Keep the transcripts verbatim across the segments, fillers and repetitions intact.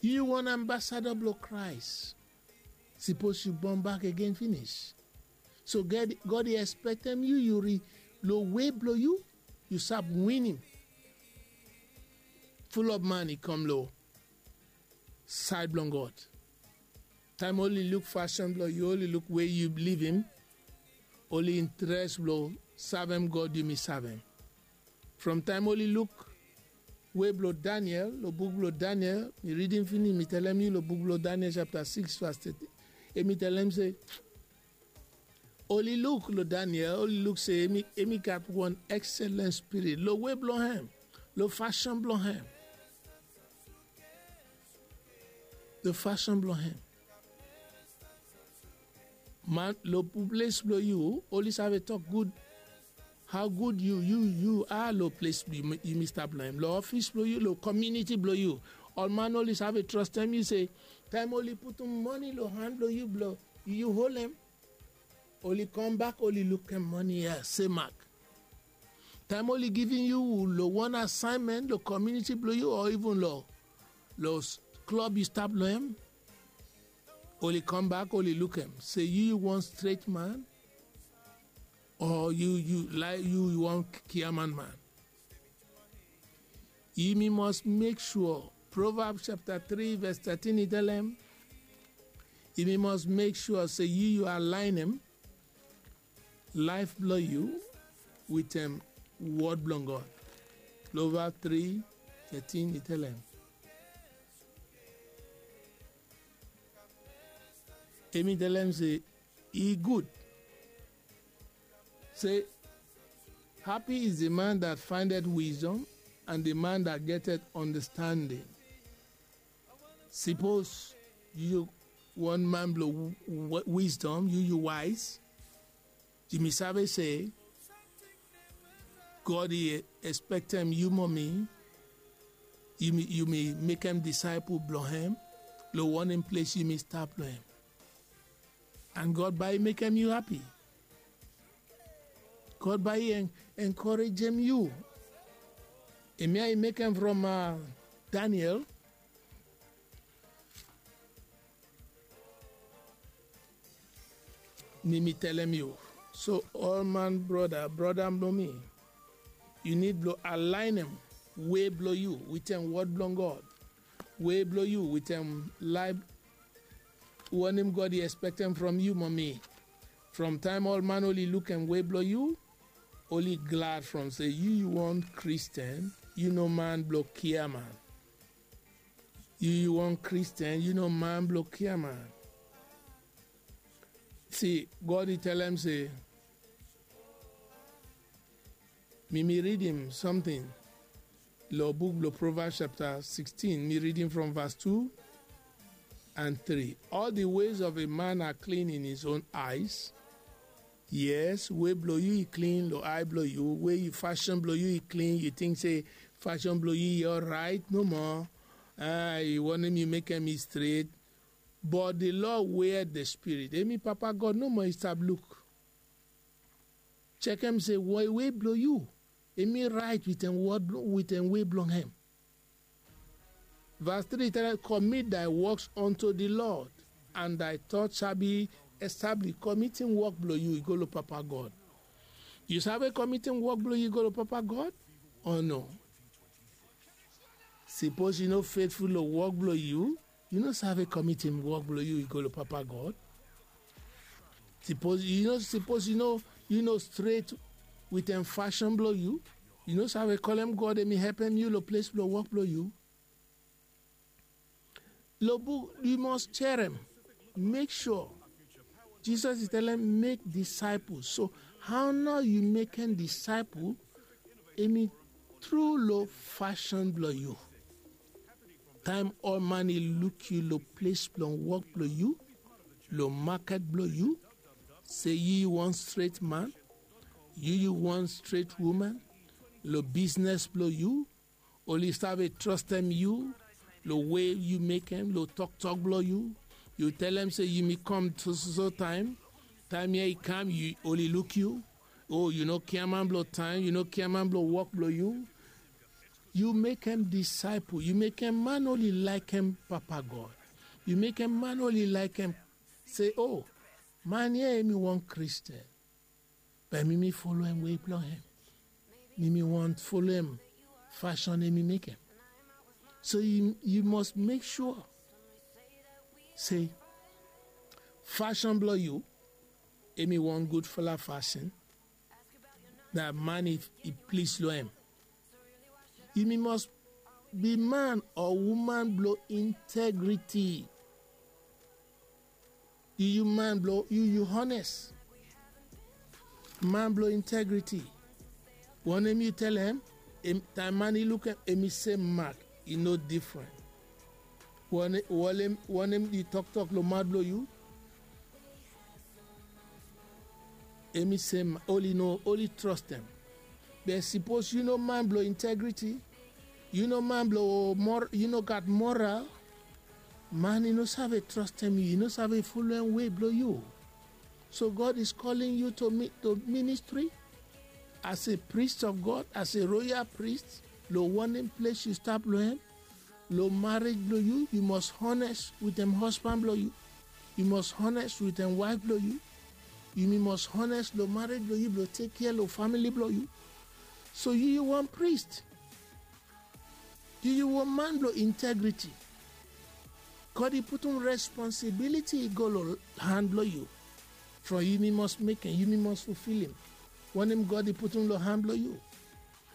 Yu wan ambasada blong Kraes. Sipos yu bon bak agen finis, so God i ekspektem yu yu ri lo wei blong yu, yu sab winim. Fulop man i kam lo saed blong God. Taem oli luk fasin blong yu, oli luk we yu livim, oli intres blong savem God yumi savem. From taem oli luk wei blong Daniel lo buk blong Daniel, mi ridim finis, mi telem yu lo buk blong Daniel japta sikis vas teti, hemi telem se oli luk lo Daniel, oli luk se hemi gat wan ekselen spirit lo wei blong hem, lo fasin blong hem. Lo fasin blong hem. Man, lo ples blong yu oli save tok gud hao gud yu yu yu a lo ples yumi stap long hem, lo ofis blong yu, lo komiuniti blong yu. Ol man oli save trostem yu se taem oli putum mane lo han blong yu blong yu holem, oli kambak oli lukim mane ya se mak. Taem oli givim yu lo wan asaenmen lo komiuniti blong yu o iven lo lo klob yu stap long hem, oli kambak oli lukim se yu yu wan stret man o yu yu laek yu yu wan kiaman man. Yumi mos mek sua, Provabs japta tri ves tetin i telem, yumi mos mek sua se yu yu alaenem laef blong yu wetem wod blong God. Provabs tri tetin i telem, hemi telem se i gud se, happy is the man that findeth wisdom and the man that getteth understanding. Sipos yu wan man blong wisdom, yu yu waes, yumi save se God i ekspektem yu mo mi yumi mekem disaepol blong hem lo wanem ples yumi stap long hem. And God bae i mekem yu hapi. God bae i enkorejem yu. Hemia i mekem from Daniel. Mi mi telem yu, so ol man broda broda blong mi, yu nid blong alaenem wei blong yu wetem wod blong God, wei blong yu wetem laef wanem God i ekspektem from yu mo mi. From taem ol man oli lukim wei blong yu, oli glad from se yu yu wan Kristen, yu no man blong kiaman. Yu yu wan Kristen, yu no man blong kiaman. Si, God i telem se, mi mi ridim samting long buk blong Provabs japta sikstin, mi ridim from vas tu and tri. All the ways of a man are clean in his own eyes. Yes, wei blong yu i klin long ae blong yu, wei yu fasin blong yu i klin, yu ting se fasin blong yu i oraet nomo. A i wanem yu mekem i stret. But the Lord wea the spirit, hemi Papa God nomo i stap luk. Jekem se wei blong yu hemi raet wetem wei blong hem. Vas tri i tale, commit thy works unto the Lord and thy thoughts shall be established. Komitim wok blong yu i go long Papa God. Yu save komitim wok blong yu i go long Papa God o no? Sipos yu no fetful long wok blong yu, yu no save komitim wok blong yu i go long Papa God. Sipos yu no sipos yu no yu no stret wetem fasin blong yu, yu no save kolem God hemi helpem yu long ples blong wok blong yu. Long buk yu mos jerem, mek sua. Jisas i talem mek disaepol. So hao nao yu mekem disaepol? Hemi tru long fasin blong yu. Taem ol man i luk yu long ples blong wok blong yu, long maket blong yu, se yu yu wan stret man, yu yu wan stret woman, long bisnes blong yu, oli save trostem yu long we yu mekem, long toktok blong yu. Yu telem se yumi kam sososo taem. Taem ya i kam, oli luk yu. O yu no kiaman blong taem, yu no kiaman blong wok blong yu. Yu mekem disaepol, yu mekem man oli laekem Papa God. Yu mekem man oli laekem se, o, man ya hemi wan Kristin. Be mi mi foloem wei blong hem. Mi mi wont foloem fasin hemi mekem. So yu mus mek sua se fasin blong yu hemi wan gudfala fasin. Na man i plis long hem. Yumi mus bi man o woman blong integriti. Yu yu man blong yu yu hones. Man blong integriti. Wanem yu telem? Taem man i lukem, hemi sem mak. I no difren. Wanem i toktok long maot blong yu? Hemi sem mak. Oli no oli trostem. Be sipos yu no man blong integriti, yu no man blong yu no gat moral, man i no save trostem yu, i no save foloem wei blong yu. So God is calling you to ministry as a priest of God, as a royal priest. Long wanem ples yu stap long hem? Long marej blong yu, yu mus hones witem hosban blong yu. Yu mus hones witem waef blong yu. Yumi mus hones long marej blong yu blong tek kea long famili blong yu. So yu yu wan priest. Yu yu wan man blong integriti. God i putum responsibiliti i go long han blong yu. From yumi mus mekem, yumi mus fulfilim wanem God i putum long han blong yu.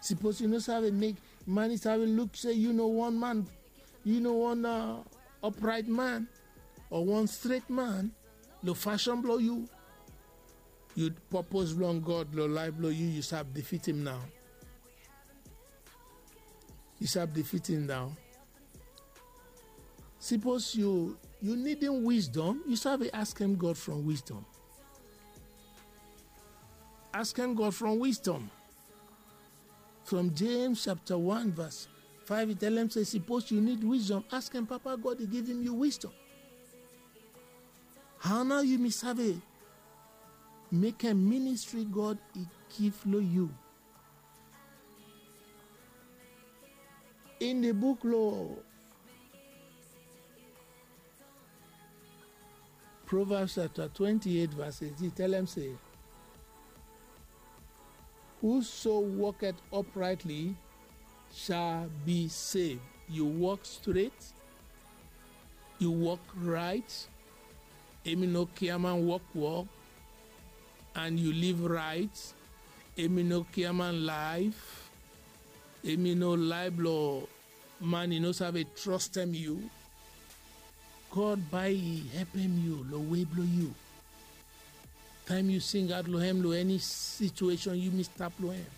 Sipos yu no save mek man i save luk se yu no wan man, yu no wan upraet man o wan stret man long fasin blong yu, yu popos blong God long laef blong yu yu save difitim nao. Yu save difitim nao. Sipos yu yu nidim wisdom, yu save askem God from wisdom. Askem God from wisdom. From James chapta wan vas faef i telem se sipos yu nid wisdom, askem Papa God i givim yu wisdom. Hao nao yumi save mekem ministri God i givim long yu? In di buk long Proverbs chapta twenti eit vas eit i telem se, whoso walketh uprightly shall be saved. Yu wok stret, yu wok raet, hemi no kiaman wokwok, and yu liv raet, hemi no kiaman laef, hemi no laef blong man i no save trostem yu. God bae i hepem yu long wei blong yu. Taem yu singaot long hem long eni situesen yumi stap long hem.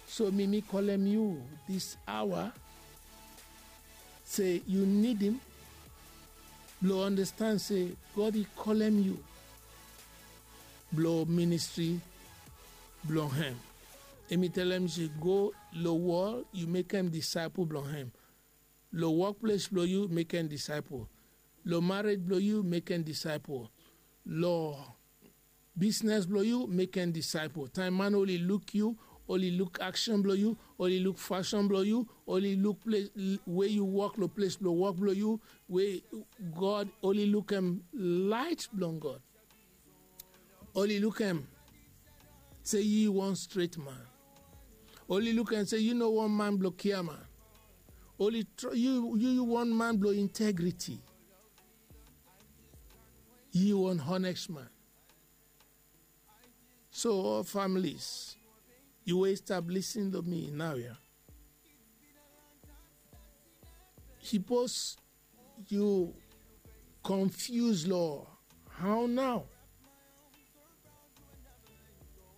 So mi mi kolem yu dis aoa se yu nidim blong andastand se God i kolem yu blong ministri blong hem. Hemi telem se go long wol yu mekem disaepol blong hem. Long wokples blong yu mekem disaepol. Long marej blong yu mekem disaepol. Long bisnes blong yu mekem disaepol. Taem man oli luk yu, oli luk aksen blong yu, oli luk fasin blong yu, oli luk we yu wok long ples blong wok blong yu, we God oli lukem laet blong God. Oli lukem se yu wan stret man. Oli lukem se yu no wan man blong kiaman. Oli yu yu wan man blong integriti. Yu wan honest man. So ol families, yu we stap lisin long mi naoia, sipos yu konfius long hao nao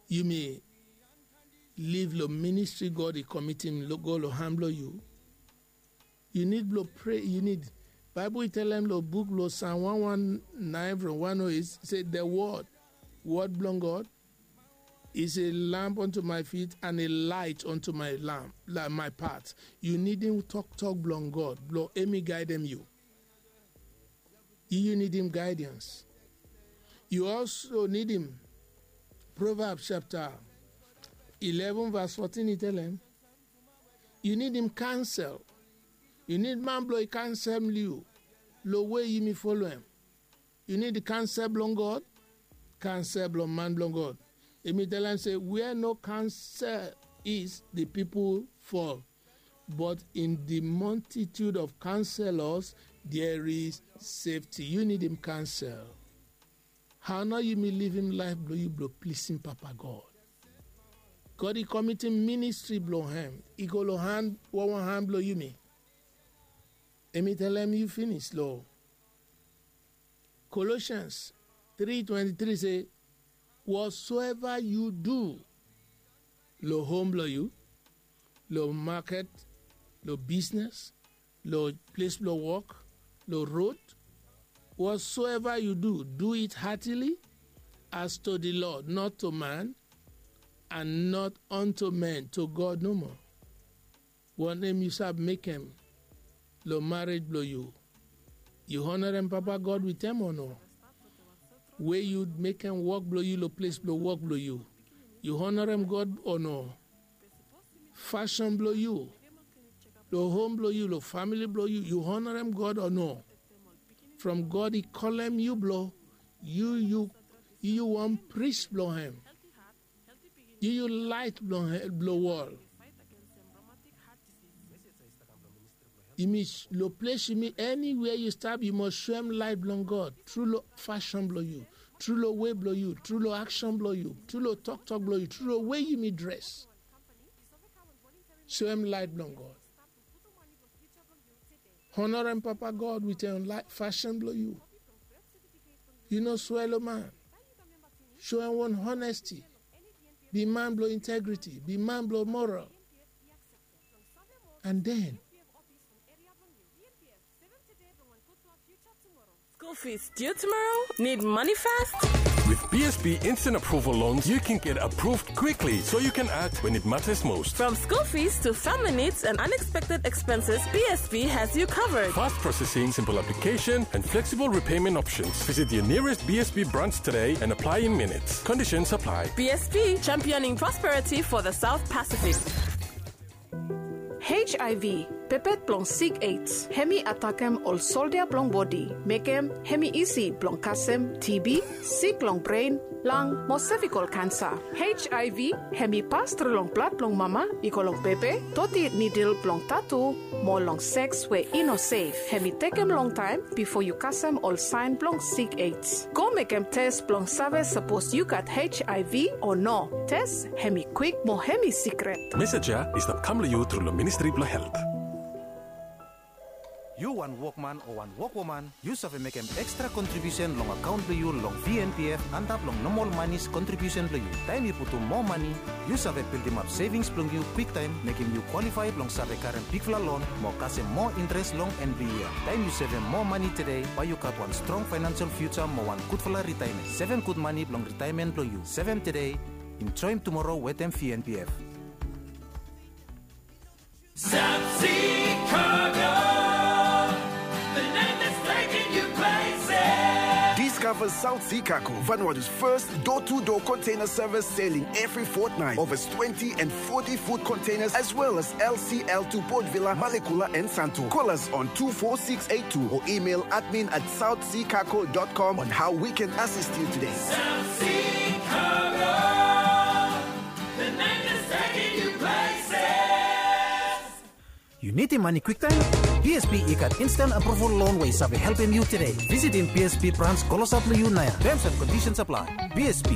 yumi liv long ministri God i komitim go long han blong yu. Yu nid blong prea, yu nid. Baebol i talem long buk blong Sam wan wan naen from wan o eit se, the word, word blong God is a lamp unto my feet and a light unto my lamp, my path. Yu nidim toktok blong God blong hemi gaedem yu. Yu yu nidim gaedans. Yu also nidim Proverbs chapter eleven verse fourteen i talem, Yu nidim kansel. Yu nid man blong i kansel yu long we yumi folo hem. Yu nid kansel blong God, kansel blong man blong God. Emi tell am se wia no kansel is di pipol fol, but in di multitude of kanselos there is safety. Yu nidim kansel. Hao nao yumi livim laef blong yu blong plisim Papa God? God i komitim ministri blong hem i go long han, wanwan han blong yumi. Emi telem yu finis long Colossians three twenty-three se, whatsoever yu du, long hom blong yu, long maket, long bisnes, long ples blong wok, long rod, whatsoever yu du, do it heartily, as to di Lord, not to man, and not unto men, to God nomo. Wanem yu sab mekem long marej blong yu? Yu honarem Papa God wit hem o no? We yu mekem wok blong yu long ples blong wok blong yu, yu honarem God o no? Fasin blong yu, long hom blong yu, long famili blong yu, yu honarem God o no? From God i kolem yu blong yu, yu, yu wan pris blong hem. Yu yu laet blong wol. Yumi long ples yumi, eniwia yu stap yu mos soem laet blong God tru long fasin blong yu, tru long we blong yu, tru long aksen blong yu, tru long toktok blong yu, tru long we yumi dres. Soem laet blong God. Honarem Papa God wit en fasin blong yu. Yu no swea long man. Soem wan honesti. Bi man blong integriti, bi man blong moral. And then, school fees due tomorrow? Need money fast? With B S B Instant Approval Loans, you can get approved quickly so you can act when it matters most. From school fees to family needs and unexpected expenses, B S B has you covered. Fast processing, simple application, and flexible repayment options. Visit your nearest B S B branch today and apply in minutes. Conditions apply. B S B, championing prosperity for the South Pacific. H I V, pepet blong sik AIDS, hemi atakem ol soldia blong bodi, mekem hemi isi blong kasem T B, sik long bren, lang mo sevikol kansa. H I V hemi pas tru long blad blong mama i go long bebe, doti nidil blong tatu, mo long seks we i no sef. Hemi tekem longtaem bifo yu kasem ol saen blong sik AIDS. Go mekem tes blong save sapos yu gat H I V o no. Tes hemi kwik mo hemi sikret. Mesej ya i stap kam long yu tru long Ministri blong Helt. Yu wan wokman o wan wokwoman, yu save mekem ekstra kontribiusen long akaon blong yu long V N P F antap long nomol manis kontribiusen blong yu. Taem yu putum moa mane, yu save bildimap sevings blong yu kwiktaem, mekem yu kwalifae blong save karem bigfala lon mo kasem moa intres long en blong yia. Taem yu sevem moa mane tede, bae yu gat wan strong faenansel fiuja mo wan gudfala ritaemen. Sevem gud mane blong ritaemen blong yu. Sevem tede, enjoem tumoro wetem V N P F. South Sea Cargo, the name that's taking you places. Discover South Sea Cargo, Vanuatu's first door-to-door container service, sailing every fortnight. Over twenty and forty foot containers, as well as L C L to Port Vila, Malekula, and Santo. Call us on two four six eight two or email admin at south sea cargo dot com on how we can assist you today. South Sea Cargo, the name that's taking you places. Yu nidim mane kwiktaem? B S B i gat instant approval loan we i save helpem yu tede. Visitim B S B brans klosap long yu naoia. Terms and conditions apply. B S B,